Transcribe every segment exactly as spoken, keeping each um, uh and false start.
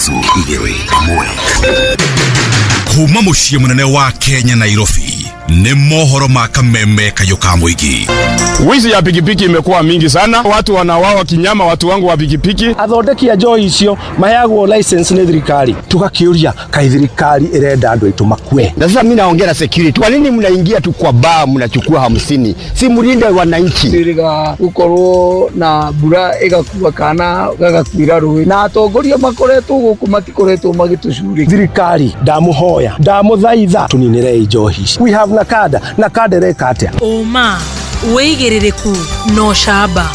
Ithatũ igĩrĩ ĩmwe. Kuma mũciĩ mũnene wa Kenya, Nairobi, nĩ mohoro ma kameme kayũ ka mũingĩ. Wizi ya pikipiki imekuwa mingi sana, watu wanauawa kinyama, watu wangu wa pikipiki. Athondeki a njohi icio maheagwo license nĩ thirikari. Tugakiuria, kaĩ thirikari ĩrenda andũ aitũ makue? Na sasa mimi naongea na security. Kwa nini mnaingia tu kwa baa mnachukua hamsini? Si mlinde wananchi. Twĩrĩga gũkorwo na mbura ĩgakua kana gagakuira rũĩ, na atongoria makoretwo gũkũ matikoretwo magĩtũcurĩkia. Thirikari, ndamũhoya, ndamũthaitha, tũninĩrei njohi ici. We have NACADA. NACADA ĩreka atĩa? Ũma, wĩigĩrĩrĩku na ũcamba.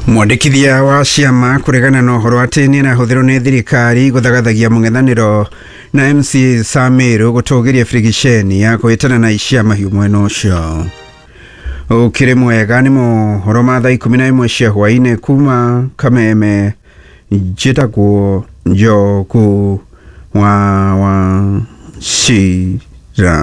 Mwandĩkithia wa ciama kũregana na ũhoro atĩ nĩ arahũthĩrwo nĩ thirikari gũthagathagia mũng'ethanĩro na M C Samiru gũtũgĩria birigiceni ya kũhĩtana na icia mahiũ mwena ũcio. Ũkĩrĩ mwega, nĩ mohoro ma thaa ikũmi na ĩmwe cia hwaĩ-inĩ kuma Kameme. Njĩtagwo Njogu wa wa Cira.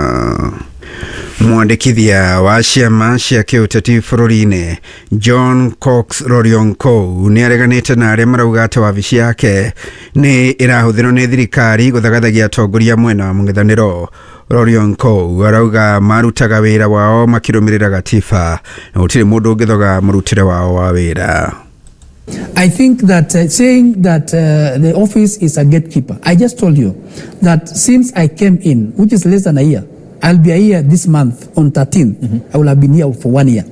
Mwandĩkithia wa ciama cia kĩũteti bũrũri-inĩ John Cox Rorionkou nĩ areganĩte na arĩa marauga atĩ wabici yake nĩ ĩrahũthĩrwo nĩ thirikari gũthagathagia atongoria mwena wa mũng'ethanĩro. Rorionkou arauga marutaga wĩra wao makĩrũmĩrĩra gatiba na gũtirĩ mũndũ ũngĩthoga mũrutĩre wao wa wĩra. I think that uh, saying that uh, the office is a gatekeeper, I just told you that since I came in, which is less than a year, I'll be a year this month on thirteenth. I will have been here for one year.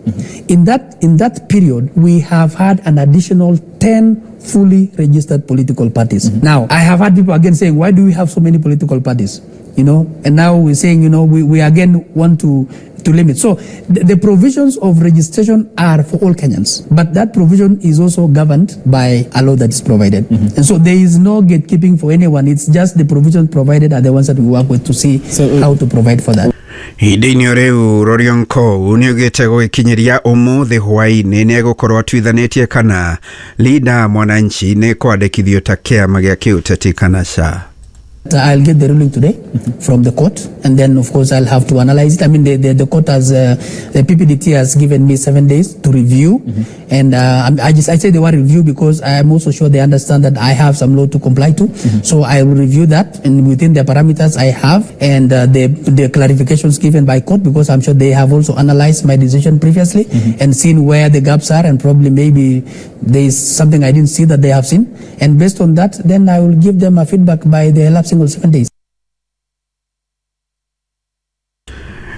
In that, in that period, we have had an additional ten fully registered political parties. Now, I have had people again saying, "Why do we have so many political parties?" You know, and now we're saying, you know, we, we again want to, to limit. So the, the provisions of registration are for all Kenyans, but that provision is also governed by a law that is provided. And so there is no gatekeeping for anyone. It's just the provisions provided are the ones that we work with to see how to provide for that. Ihinda-inĩ o rĩu, Rorionkou nĩ augĩte gũgĩkinyĩria ũmũthĩ hwaĩ-inĩ nĩ egũkorwo atuithanĩtie kana Linda Mwananchi nĩ kwandĩkithio ta kĩama gĩa kĩũteti kana ca. I'll get the ruling today from the court, and then of course I'll have to analyze it. I mean, the, the, the court has, uh, the P P D T has given me seven days to review, and uh, I just I say the word review because I am also sure they understand that I have some law to comply to. So I will review that, and within the parameters I have, and uh, the the clarifications given by court, because I'm sure they have also analyzed my decision previously and seen where the gaps are, and probably maybe there is something I didn't see that they have seen, and based on that, then I will give them a feedback by the elapsing of seven days.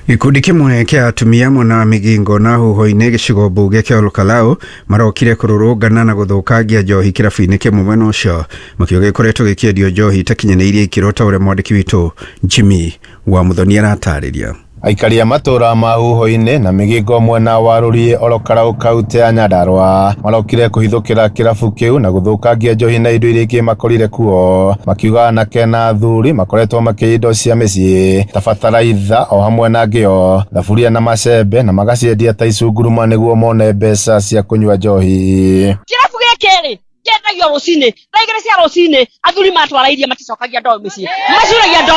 Gĩkundi kĩmwe kĩa atumia mwena wa Migingo na Huho-inĩ, gĩcigo mbunge kĩa Olkalou, marokire kũrũrũngana na gũthũkangia njohi kĩrabu-inĩ kĩmwe mwena ũcio, makiuga gĩkoretwo gĩkĩendio njohi itakinyanĩirie ikĩro, ta ũrĩa mwandĩki witũ Jimmy wa Muthoni aratarĩria. Aikari a matũra ma Huho-inĩ na Mĩgingo mwena wa Rũriĩ, Olokarau, kaunti ya Nyandarua, marokire kũhithũkĩra kĩrabu kĩu na gũthũkangia njohi na indo iria ingĩ makorire kuo, makiuga anake na athuri makoretwo makĩiya indo cia mĩciĩ ta bataraitha o hamwe na ngĩo, thaburia na macembe, na magaciendia ta icunguruma nĩguo mone mbeca cia kũnyua njohi. Kĩrabu gĩkĩ rĩ, kĩendagio rũcinĩ thaa igĩrĩ cia rũcinĩ. Athuri matwara iria maticokagia ndoo mĩciĩ, macuragia ndo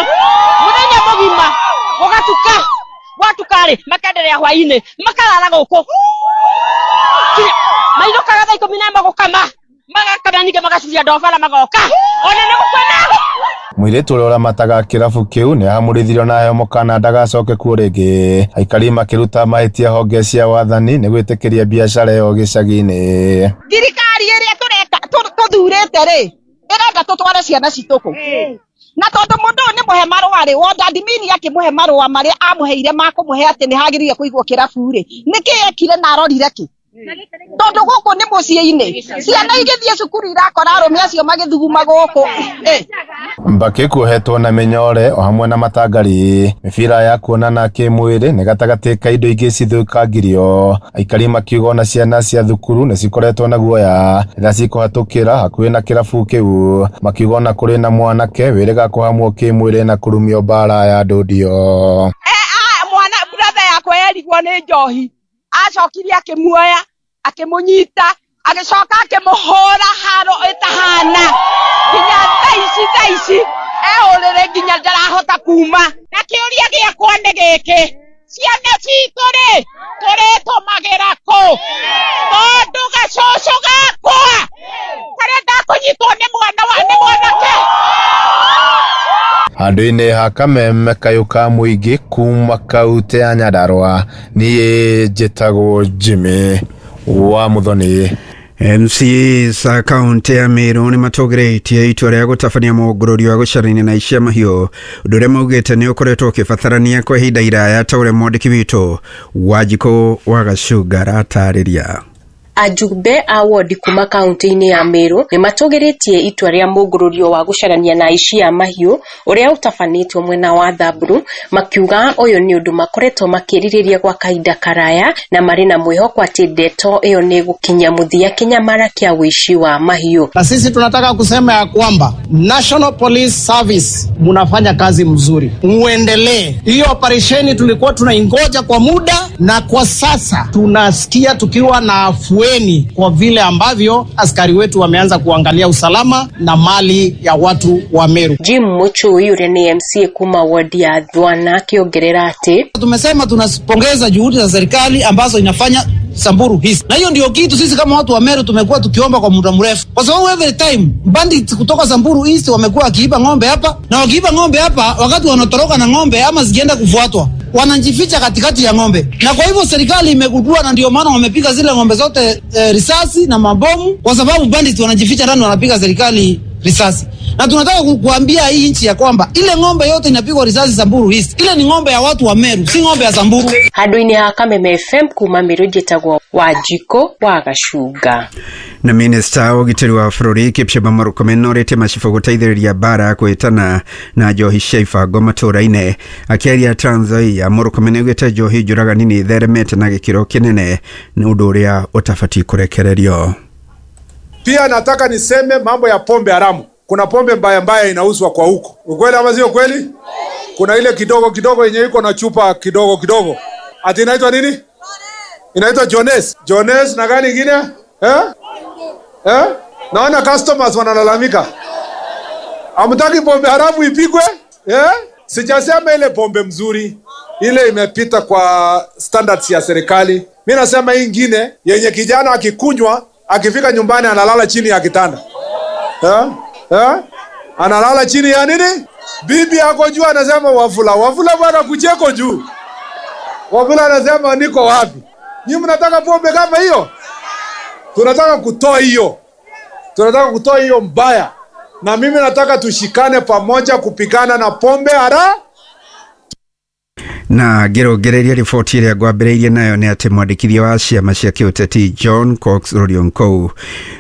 mũthenya mũgima gũgatuka. Gwatuka rĩ, makenderea hwainĩ makarara gũkũ. Kinya- mainũkaga thaa ikũmi na ĩmwe gũkama, magakama, ningĩ magacuria ndoo bara magoka ona nĩ gũkwena. Mũirĩtu ũrĩa ũramataga kĩrabu kĩu nĩ ahamũrithirio na aheo mũkana ndagacoke kuo rĩngĩ, aikari makĩruta mahĩtia honge cia wathani nĩ gwĩtĩkĩria biacara ĩyo gĩcagi-inĩ. Thirikari ĩrĩa tũreka tũ- tũthurĩte rĩ, ĩrenda tũtware ciana citũ kũ? Na tondũ mũndũ ũyũ nĩ mũhe marũa rĩ, ward admin akĩmũhe marũa marĩa amũheire ma kũmũhe atĩ nĩ hagĩrĩire kũigwo kĩrabu rĩ, nĩkĩ ekire na arorire kĩ? Tondũ gũkũ nĩ mũciĩ-inĩ, ciana igĩthiĩ cukuru irakora arũme acio magĩthuguma gũkũ. Eh. Mbakĩ kuohetwo na mĩnyore o hamwe na matangari, mĩbira ya kuonana kĩmwĩrĩ nĩ gatagatĩ ka indo ingĩ cithũkangirio, aikari makiuga ona ciana cia thukuru nĩ cikoretwo na guoya rĩrĩa cikũhatũkĩra hakuhĩ na kĩrabu kĩu, makiuga ona kũrĩ na mwanake wĩrĩga kũhamwo kĩmwĩrĩ na kũrumio mbara ya ndũndio. Ah, mwana brother yakwa yerigwo nĩ njohi, acokire akĩmuoya, akĩmũnyita, agĩcoka akĩmũhũra haro ĩtahana nginya thaa ici. Thaa ici e ũrĩrĩ nginya ndarahota kuma. Na kĩũria gĩakwa nĩ gĩkĩ, ciana citũ rĩ, tũrĩtũmagĩra kũ? Tondũ gacũcũ gakwa karenda kũnyitwo nĩ mwana. Handũ-inĩ ha kameme kayũ ka mũingĩ kuma kaunti ya Nyandarua, niĩ njĩtagwo Jimmy wa Muthoni. M C As a kaunti ya Meru nĩ matũgĩrĩtie itua rĩa gũtabania mũngũrũrio wa gũcarania na icia mahiũ, ũndũ ũrĩa maugĩte nĩ ũkoretwo ũkĩbatarania kwa ihinda iraya ta ũrĩa mwandĩki witũ Wanjikũ wa Gacunga aratarĩria. Ajumbe a wodi kuma kaunti-inĩ ya Meru nĩ matũgĩrĩtie itua rĩa mũngũrũrio wa gũcarania na aici a mahiũ ũrĩa ũtabanĩtio mwena wa Thamburu, makiuga ũyũ nĩ ũndũ makoretwo makĩrirĩria gwa kahinda karaya na marĩ na mwĩhoko atĩ ndeto ĩyo nĩ gũkinya mũthia kĩnyamara kĩa ũici wa mahiũ. Na sisi tunataka kusema ya kwamba National Police Service munafanya kazi mzuri, muendelee. Hiyo operesheni tulikuwa tunaingoja kwa muda, na kwa sasa tunasikia tukiwa na afueni kwa vile ambavyo askari wetu wameanza kuangalia usalama na mali ya watu wa Meru. Jim Muchui ũrĩa nĩ M C A kuma wodi ya Thwana akĩongerera atĩ tumesema tunapongeza juhudi za serikali ambazo inafanya Samburu East, na hiyo ndio kitu sisi kama watu wa Meru tumekuwa tukiomba kwa muda mrefu, kwa sababu every time bandits kutoka Samburu East wamekuwa wakiiba ng'ombe hapa, na wakiiba ng'ombe hapa, wakati wanatoroka na ng'ombe ama zikienda kufuatwa wanajificha katikati ya ng'ombe. Na kwa hivyo serikali imegundua, na ndio maana wamepiga zile ng'ombe zote e, risasi na mabomu, kwa sababu bandits wanajificha ndani wanapiga serikali risasi. Na tunataka kuambia hii nchi ya kwamba ile ng'ombe yote inapigwa risasi Samburu East, ile ni ng'ombe ya watu wa Meru, si ng'ombe ya Samburu. Handũ-inĩ ha Kameme F M kuma Meru njĩtagwo Wanjikũ wa Gacunga. Na minista wa ũgitĩri wa bũrũri Kipchumba Murkomen norĩtie macibũ gũteithĩrĩria mbara kwĩtana na njohi cia ibango matũũra-inĩ. Akĩaria Trans Nzoia, Murkomen augĩte njohi njũragani nĩ itheremete na gĩkĩro kĩnene, nĩ ũndũ ũrĩa ũtabatiĩ kũrekererio. Pia nataka niseme mambo ya pombe haramu. Kuna pombe mbaya mbaya inauzwa kwa huko. Ukweli ama sio kweli? Kuna ile kidogo kidogo yenye iko na chupa kidogo kidogo. Ati inaitwa nini? Inaitwa Jones. Jones na gani nyingine? Eh? Eh? Naona customers wanalalamika. Hamtaki pombe haramu ipigwe? Eh? Sijasema ile pombe mzuri, ile imepita kwa standards ya serikali. Mimi nasema hii nyingine yenye kijana akikunywa, akifika nyumbani analala chini ya kitanda. Eh? Eh? Analala chini ya nini? Bibi yako juu anasema Wafula, Wafula bwana kucheko juu. Wafula anasema niko wapi? Nyinyi mnataka pombe kama hiyo? Tunataka kutoa hiyo. Tunataka kutoa hiyo mbaya. Na mimi nataka tushikane pamoja kupigana na pombe hara. Na ngĩrũngĩrĩria riboti ĩrĩa ngwambĩrĩirie nayo nĩ atĩ mwandĩkithia wa ciama cia kĩũteti John Cox Rorionkou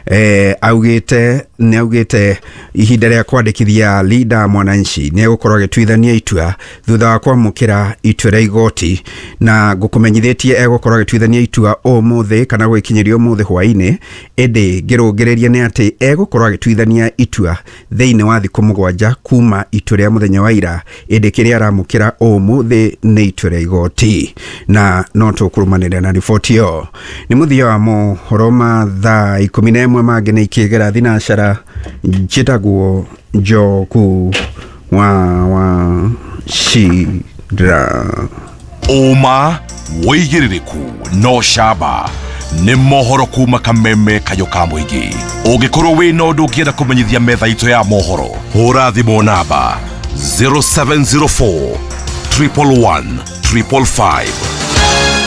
eh, augĩte nĩ augĩte ihinda rĩa kwandĩkithia Linda Mwananchi nĩ egũkorwo agĩtuithania itua thutha wa kwamũkĩra itua rĩa igoti, na ngũkũmenyithĩtie egũkorwo agĩtuithania itua ũmũthĩ kana gwĩkinyĩria ũmũthĩ hwaĩ-inĩ, ĩndĩ ngĩrũngĩrĩria nĩ atĩ egũkorwo agĩtuithania itua thĩinĩ wa thikũ mũgwanja kuma itua rĩa mũthenya wa ira, ĩndĩ kĩrĩa aramũkĩra ũmũthĩ nĩ itua rĩa igoti, na no tũkũrũmanĩrĩra na riboti ĩyo. Nĩ mũthia wa mohoro ma thaa ikũmi na ĩmwe mangĩ nĩ ikĩgera thinacara. Njĩtagwo Njoku wa wa Shira. Ũma wĩigĩrĩrĩku no camba nĩ mohoro kuma Kameme kayũ ka mũingĩ. Ũngĩkorwo wĩna ũndũ ũngĩenda kũmenyithia metha itũ ya mohoro, hũra thimũ namba zero seven zero four triple one triple five.